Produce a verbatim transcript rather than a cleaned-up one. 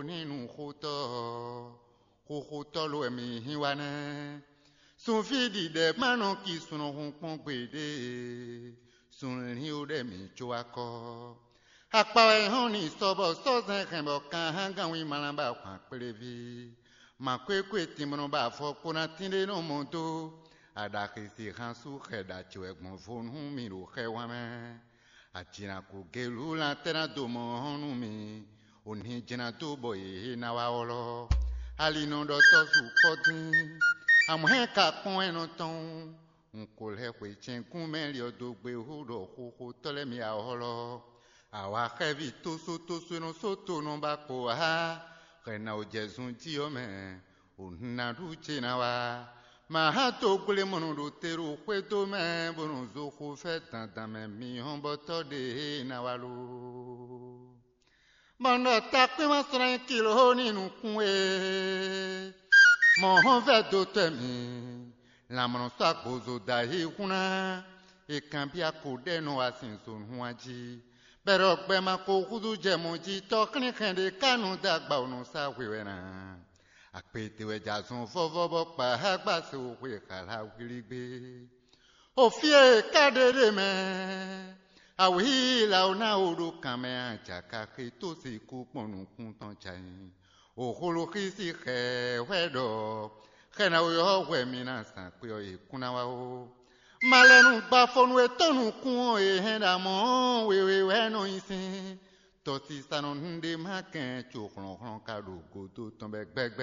ní nǔxotɔ́ ɔ́, xoxotɔ́ ló wɛ mi hín wá nɛ́. Sunví ɖiɖɛ ma nɔ ki sun nɔ hun kpɔ́n gbeɖé, sunlín ó ɖɛ mi có wá kɔ. Akpa wɛ hɔn ni sɔ bɔ sɔ́zɛn hɛn bɔ kan hán gán wí mlá ba hwan kpléví. Mǎkwékwé tinmɔnɔ ba afɔ kpó ná tínɖé nɔ mɔ dó. Aɖaxi si hán sú xɛ ɖa ce wɛ gbɔn vo nú mi ɖo xɛwán mɛ. Ajǐnako gelú lan tɛ́ ná dó mɔ hɔn nú mi. Òní jɛ́n ná dó bɔ yě ná wá ɔ́lɔ́. Ali nɔ ɖɔ tɔ́ su kpɔ́ dín. Amɔ̌ hɛn ka kpɔ́n ɛ nɔ tɔn. Un ko lɛ́ xwe cɛ́nkún mɛ li ɔ́ dó gbe hú ɖɔ xoxotɔ́ lɛ́ɛ mi awɔ̌lɔ́. Awa xɛ́ví tósótósó e nɔ só to nɔ ba kpo há hɛn ná o jɛ zun jí ɔ́ mɛ, o hun ná ɖu ce ná wá. Mahá togblé mɔnɔ ɖo te ɖo xwédó mɛ bó nɔ zo xo fɛ́ dandan mɛ mi hɔn bɔ tɔ́ ɖe e ná wá lo. Bɔ un ɖɔ takpín ma slɔ́n nyi kiló ní nukún e mɔ̌ hɔn vɛ́ dó tɔ́ mǐ. Lanmɔ̌ sɔ́ agbozo dó ayǐhún ná, è kanbyɔ́ ko ɖɛ́ nɔ wá sin zǒnú ɔ́ jí. Bɛ́ ɖɔ gbɛ ma ko húzú jɛ mɔ̌ jí tɔ́ xlínxɛn ɖé ka nɔ dó agba ɔ́ nɔ sá hwe wɛ ná. Akpete wɛ jɛ azɔn vɔ́vɔ́ bɔ kpa há gba se xwe xala wlí gbé. O fí e ka ɖe ɖe mɛ, awǐ lawo ná o ɖo kan mɛ a jǎ ka xé tó sixú kpɔ́n nukún tɔn ca nyi. O xoloxísi xɛ hwɛ ɖɔ xɛ ná o yɔ hwɛ mi ná zǎn kpe ɔ́ e kún ná wá ó. Ma lɛ nu gbafonu e tɔ́ nukún ɔ́ e hɛn ɖo amɔ̌ wewe wɛ nɔ nyi sín. Tɔsisa nɔ nu ɖé má kɛn co hlɔ̌nhlɔ́n ka ɖo gǒdo tɔn bɛ gbɛgbɛ.